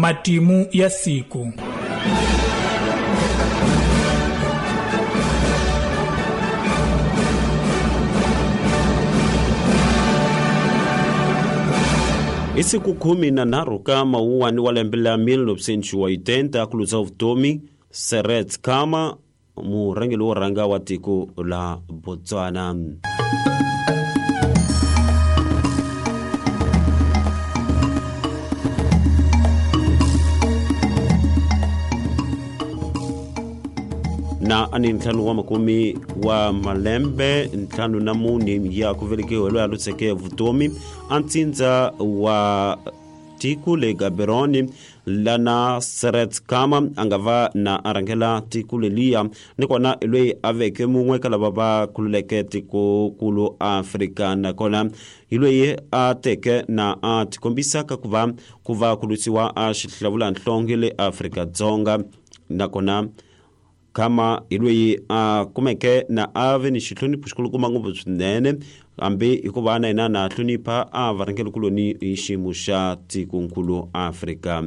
Matimu ya siku. Hi siku 13 ka Mawuwani wa lembe la 1980 ku luza vutomi Seretse Khama, murhangeri wo rhanga wa tiko la Botswana. Na ani ntlhanu wa makume wa malembe 54 ya ku velekiwa loyi a lutseke vutomi a ntsindza wa tiko le Gaborone lana Seretse Khama a nga va na a rhangela tiko leliya, nakona loyi a veke mun'we ka lava va khululeke tikokulu Afrika, nakona hi loyi a teke na a tikombisa ka ku va ku lwisiwa a xihlawulanhlonge le Afrika-Dzonga. Nakona Khama hi loyi a kumeke na a ve ni xihlonipho xikulukumba ngopfu swinene, hambi hikuva na yena na hlonipha a varhangerikuloni hi xiyimo xa tikonkulu Afrika.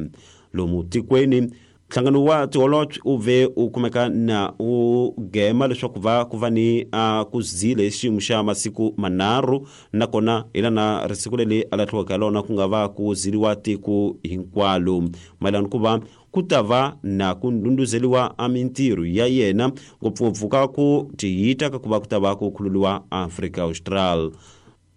Lomu tikweni nhlangano wa tiholobye u ve u kumeka na u gema leswaku va ku va ni a ku zile hi xiyimo xa masiku manharhu, nakona hi lana risiku leri a lahliwaka hi lona ku nga va ku ziliwa tiko hinkwalo mayelana ku va ku ta va na ku ndhundhuzeliwa a mintirho ya yena, ngopfungopfu ka ku tiyita ka ku va ku ta va ku khululiwa Afrika Austral.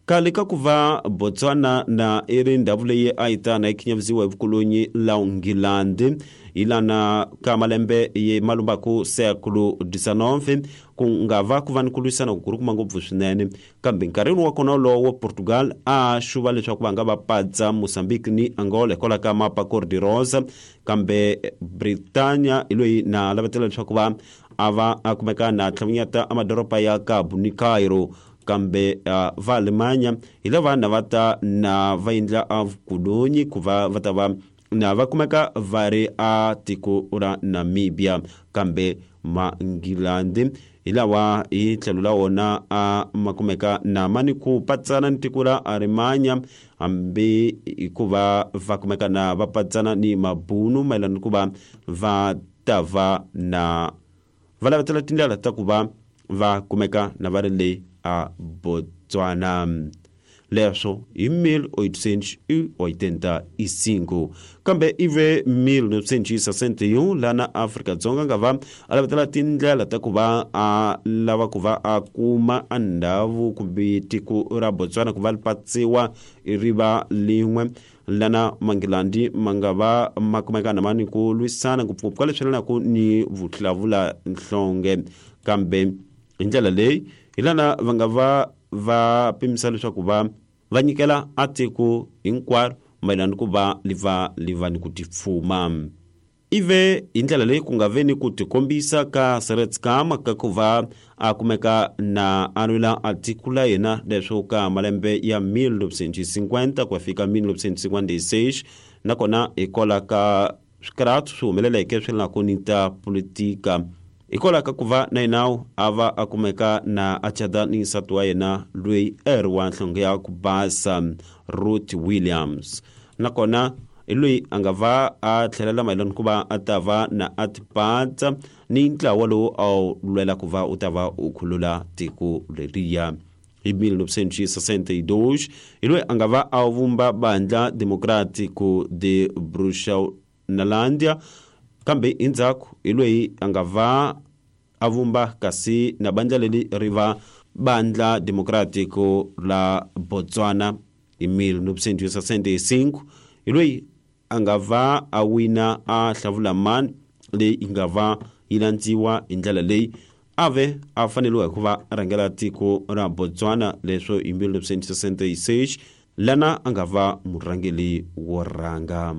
Khale ka ku va Botswana na i ri ndhawu leyi a yi ta na yi khinyavisiwa hi vukolonyi la Nghilandi hi lana ka malembe ye malumbaku século XIX, ku nga va ku va ni ku lwisana ku kurukuma ngopfu swinene. Kambe nkarhini wa kona wolowo Portugal a xuva leswaku va nga va patsa Mozambique ni Angola hikwalaho ka mapa Cor de Rosa, kambe Britania hi loyi na lavetela leswaku va a va a kumeka na tlhavunyata a madoroba ya Cabo ni Cairo, kambe va Alemanya hi lava na va ta na va endla a vukolonyi ku va va ta va na va kumeka va ri a tiko ra Namibia, kambe Manghilandi hi lawa hi tlhelo la wona a ma kumeka na ma ni ku patsana ni tiko ra Alemanya, hambi hikuva va kumeka na va patsana ni mabunu mayelana ni ku va va ta va na va lavetela tindlela ta ku va va kumeka na va ri le a Botswana. Leswo hi 1885, kambe ive 1961 lana Afrika-Dzonga nga va a lavetela tindlela ta ku va a lava ku va a kuma a ndhawu kumbe tiko ra Botswana ku va li patsiwa ri va lin'we, lana Manghilandi ma nga va ma kumeka na ma ni ku lwisana ngopfungopfu ka leswi yelanaka ni vuhlavula-nhlonge. Kambe hi ndlela leyi hi lana va nga va va pimisa leswaku va va nyikela a tiko hinkwaro mayelana ni ku va li va li va ni ku tifuma. Ive hi ndlela leyi ku nga ve ni ku tikombisa ka Seretse Khama ka ku va a kumeka na a lwela a tiko la yena leswo ka malembe ya 1950 ku ya fika 1956, nakona hikwalaho ka swikarhato swi humeleleke swi laka ni ta politika, hikwalaho ka ku va na yena a va a kumeka na a cata ni nsati wa yena loyi a ri wa nhlonge ya ku basa Ruth Williams, nakona hi loyi a nga va a tlhelela mayelana ku va a ta va na a tipatsa ni ntlawa lowu a wu lwela ku va u ta va u khulula tiko leriya. Hi 1962 hi loyi a nga va a vumba Bandla Democrático de Bechuanalandia, kambe endzhaku hi loyi a nga va a vumba kasi na bandla leri ri va Bandla Democrático la Botswana. Hi 1965 hi loyi a nga va a wina a hlavula mani leyi yi nga va yi landziwa hi ndlela leyi a ve a faneriwa hi ku va a rhangela tiko ra Botswana leswo hi 1966 lana a nga va murhangeri wo rhanga.